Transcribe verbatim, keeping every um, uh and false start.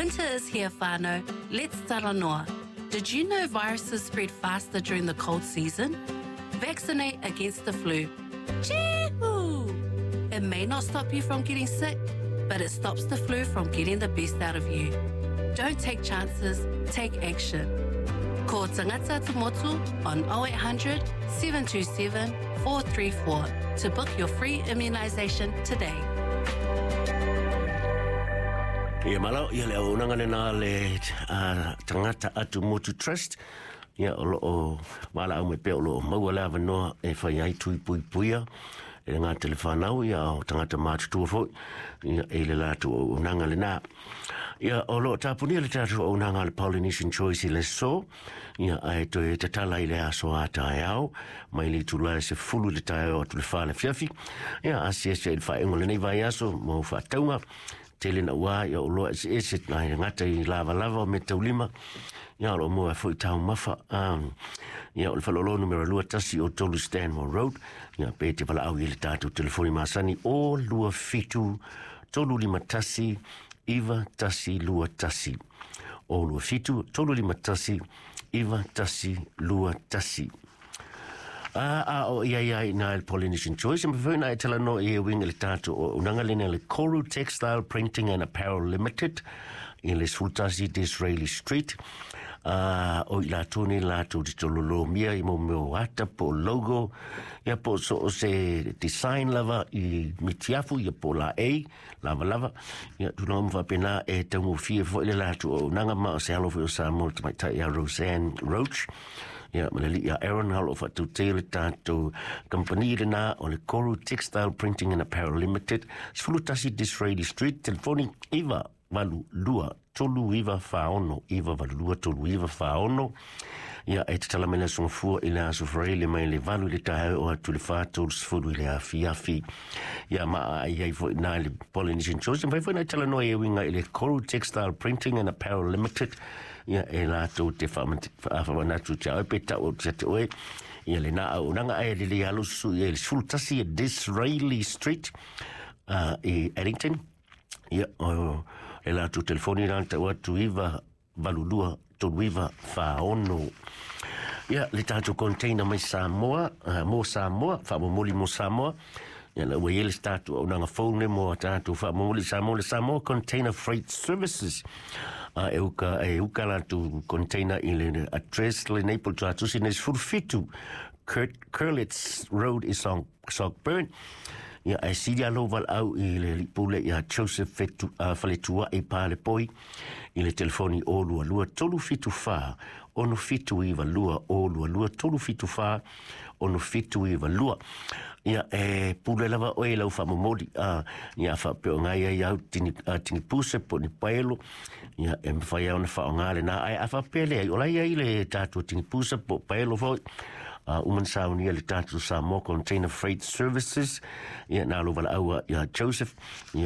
Winter is here, whānau. Let's talanoa. Did you know viruses spread faster during the cold season? Vaccinate against the flu. Chee-hoo! It may not stop you from getting sick, but it stops the flu from getting the best out of you. Don't take chances, take action. Call Tangata Atumotu on oh eight hundred, seven two seven, four three four to book your free immunisation today. Ia malo, ia le auaunaga lena le uh, Tagata Atumotu Trust. Ia o loo valaau mai pea o loo maua le avanoa e fai ai tui puipuia e le gata i le fanau, ia o tagata matutua foi, ia e le latou auaunaga lena. Ia o loo tapunia le tatou auaunaga a le Polynesian Choice i le aso, ia ae toe tatala i le aso a taeao, mai le itula e sefulu i le taeao atu le fa le afiafi. Ia asiasi ai i le faaiuga o lenei vaiaso mo faatauga tele na ua ia o loa eseese nai gata i lavalava o meataulima, ia o loo maua ai foi taumafa. Um, ia o le faleoloa numera lua tasi o tolu Stanmore Road, ia pe te valaau i le tatou telefoni masani o lua fitu tolu lima tasi iva tasi lua tasi. O lua fitu tolu lima tasi iva tasi lua tasi. A, a o ia ia i nā le Polynesian Choice, ma fai na e talanoa i e uiga i le tatou auaunaga lena le Koru Textile Printing and Apparel Limited i le sefulu tasi Disraeli Street. A, o i latou nei latou te tololomia i mo mea o ata po o logo, ia po o so o se design lava i mitiafu, ia po o laei, lavalava, ia tulaga uma faapena e taugofie foi le latou auaunaga ma o se alo foi o Samoa le tamaitai ia Roseanne Roach. Ia, ma le alii a Aaron o lo o faatautea le tatou kamupani lena o le Koru Textile Printing and Apparel Limited, sefulu tasi Disraeli Street, telefoni iva valu lua tolu iva fa ono, iva valu lua tolu iva fa ono. Ia, e tatala mai le aso gafua i le aso Faraile mai le valu i le taeao o atu le fa tolu sefulu i le afiafi. Ia, ma ai ai foi nā le Polynesian Choice, mawhai foi nā talanoa i e uiga i le Koru Textile Printing and Apparel Limited, ia e latou te whaamanatu te au pe tau o te te oe, ia le nā auaunaga ae lelei alo susu ia i le sefulu tasi e Disraeli Street, uh, i Addington. Ia, o e latou telefoni rā tau atu iva valu lua tolu iva wha ono. Ia, le tatou container mai Samoa, uh, mō Samoa, whaamomoli mō Samoa. Ia, la ua i ai le tatou auaunaga fou nei mō a tatou whaamomoli Samoa, le Samoa Container Freight Services. Uh, e uka, e uka latou container i le address lenei po o le tuatusi nei sefulu fitu Kurt Curlitz Road i Sockburn. Ia, ae sili a lou valaau i le alii pule ia Joseph Fetu, uh, Faletuai Palepoi i le telefoni o lua lua tolu fitu fa ono fitu iwa lua, o lua lua tolu fitu fa ono fitu iwa lua. Ia, e pule lava oe i lau whaamomoli, uh, ia whaapeo ngai ai au tini, uh, tini puse po ni paelo, ia e mawhai au na whaonga le nā, ai a whaapea le ai, o lai ai le tātua tini puse po paelo foi, uh, uman saunia le tātou Samoa Container Freight Services, ia nā lo valaau ia Joseph, ia